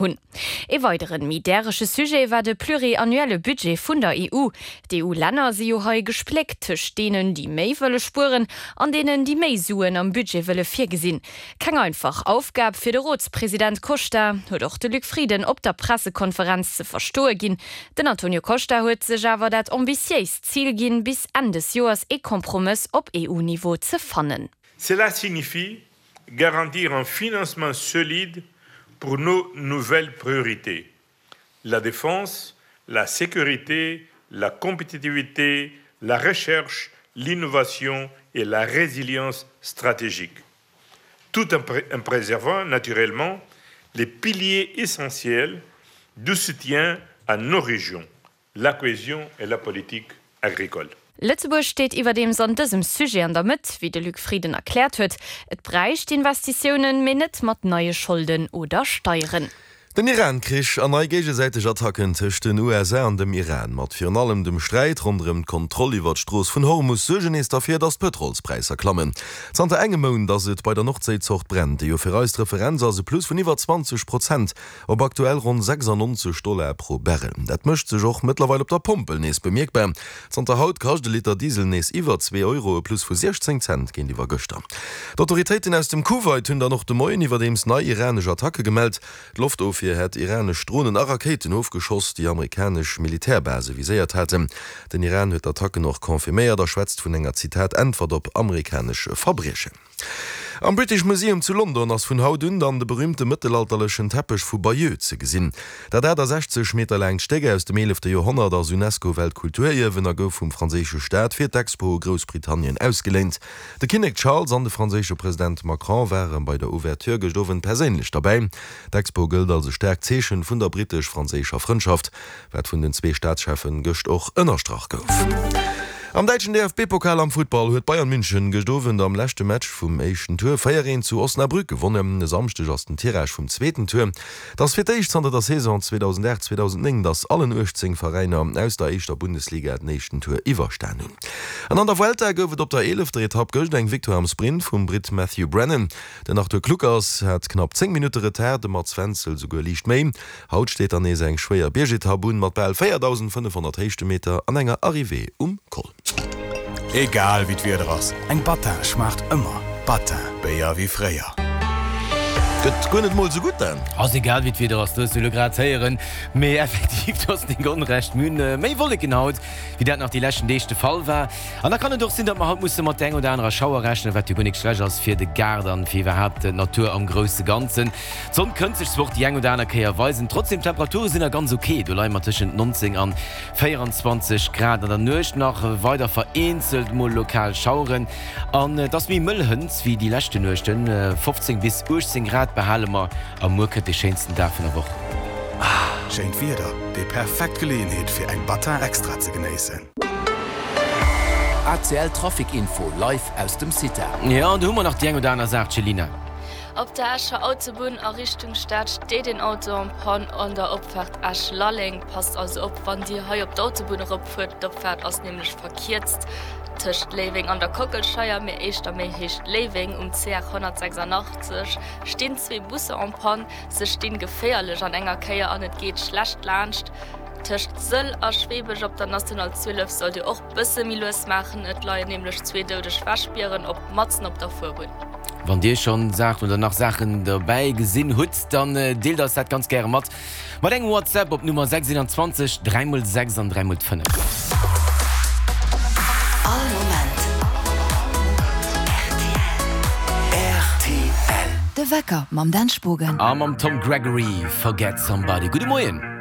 Hunn. Ee weideren, méi därege Sujet war de pluriannuelle Budget vun der EU. D'EU-Länner si jo hei gespléckt tëscht deenen, déi méi wëlle spueren, an deenen, déi méi Suen am Budget wëlle virgesinn. Keng einfach Aufgab fir de Rotspresident Costa, huet och de Luc Frieden op der Pressekonferenz ze verstoe ginn. Den Antonio Costa huet sech awer dat ambitiéist Zil ginn, bis Enn des Joers ee Kompromëss op EU-Niveau ze fannen. Cela signifie garantir un financement solide pour nos nouvelles priorités, la défense, la sécurité, la compétitivité, la recherche, l'innovation et la résilience stratégique, tout en, pré en préservant naturellement les piliers essentiels du soutien à nos régions, la cohésion et la politique agricole. Lëtzebuerg steet iwwerdeems an dësem Sujet an der Mëtt, wéi de Luc Frieden erkläert huet. Et bräicht Investitiounen, mee net mat neie Scholden oder Steieren. Den Iran-Krich an nei géigesäiteg Attacken tëscht den USA an dem Iran, mat virun allem dem Sträit ronderëm d'Kontroll iwwer d'Strooss vun Hormus, suergen nees derfir, datt d'Pëtrolspräisser klammen. Zanter engem Mount ass et bei der Nordséizort Brent, déi jo fir eis d'Referenz ass, e Plus vun iwwer 20 Prozent. Op aktuell ronn 96 Dollar pro Barrel. Dat mécht sech och mëttlerweil op der Pompel nees bemierkbar. Zanter haut kascht e Liter Diesel nees iwwer zwee Euro, e Plus vu 16 Cent géintiwwer gëschter. D'Autoritéiten aus dem Kuwait hunn dann och de Moien iwwerdeems nei iranesch Attacke gemellt. D'Loftofwier hätt iranesch Dronen a Rakéiten ofgeschoss, déi amerikanesch Militärbase viséiert haten. Den Iran huet d'Attacken och confirméiert a schwätzt vun enger, Zitat, Äntwert op amerikanesch Verbriechen. Am British Museum zu London ass vun haut un dann de berüümte mëttelalterlechen Teppech vu Bayeux ze gesinn. Dat 68 Meter laangt Stéck aus dem eelefte Joerhonnert ass UNESCO-Weltkulturierwen a gouf vum franséische Staat fir d'Expo u Groussbritannien ausgeléint. De Kinnek Charles an de franséische President Macron ware bei der Ouverture gëscht Owend perséinlech derbäi. D'Expo gëllt als e staarkt Zeechen vun der brittesch-franséischer Frëndschaft. Wat vun den zwee Staatscheffen gëscht och ënnerstrach gouf. Am däitschen DFB-Pokal am Futtball huet Bayern München gëscht Owend am leschte Match vum éischten Tour 4, 1 zu Osnabrück gewonnen. E Samschdeg ass den Tirage vum zweeten Tour. Et ass fir d'éischt zanter der Saison 2008, 2009, datt allen 18 Veräiner aus der éischter Bundesliga den éischten Tour iwwerstan hunn. An an der Vuelta gouf et op der eelefter Etapp gëscht eng Victoire am Sprint vum Britt Matthew Brennan. Den Arthur Kluckers hat knapp 10 Minutte Retard, de Mats Wenzel souguer liicht méi. Haut steet dann nees eng schwéier Biergetapp un, mat bal 4.500 Héichtemeter an enger Arrivée um Col. Egal wéi d'Wieder ass, eng Battin schmaacht ëmmer. Battin, Béier wéi fréier. Gëtt guer net mol sou gutt, Dan. Ass egal wéi d'Wieder ass, du hues jo elo grad héieren. Mee effektiv, du hues nik onrecht, mir hunn méi Wolleken haut, wéi dat nach déi leschten Deeg de Fall war. An da kann et och sinn, datt mer haut musse mat der eng oder anerer Schauer rechnen, wat jo guer nik schlecht ass fir de Gaart an fir iwwerhaapt d'Natur am grousse Ganzen. D'Sonn kënnt sech zwar och déi eng oder aner Kéier weisen, trotzdem d'Temperature sinn nach ganz ok, do leie mer tëschent 19 an 24 Grad. An der Nuecht nach weider vereenzelt mol lokal Schaueren an et ass méi mëll hënt wéi déi leschte Nuechten, 15 bis 18 Grad behale mer a muer kënnt de schéinsten Dag vun der Woch. Schéint Wieder, déi perfekt Geleeënheet fir eng Battin Extra ze genéissen. ACL Trafic Info live aus dem CITA. Jo, an do hu mer nach déi eng oder aner Saach, Céline. Op der Escher Autobunn a Richtung Stad steet een Auto en Panne an der Opfaart Esch-Lalleng. Passt also op wann Dir hei op d'Autobunn eropfuert, d'Opfaart ass nämlech verkierzt tëscht Léiweng an der Kockelscheier, mee éischter méi Héicht Léiweng. Um CR 186 stinn zwee Busser en Panne. Se stinn geféierlech an enger Kéier an et geet schlecht laanscht. Tëscht Sëll a Schweebech op der National 12 sollt Dir och bësse méi lues maachen, et leien nämlech zwee doudeg Wäschbieren op matzen op der Fuerbunn. Wann Dir schonn Saachen oder nach Saachen dobäi gesinn hutt, dann deelt eis dat ganz gäre mat mat engem WhatsApp op d'Nummer 6 21 3 x 6 an 3 x 5. All Moment rtl. De Wecker mam Dan Spogen. A mam Tom Gregory, Forget Somebody. Gudde Moien.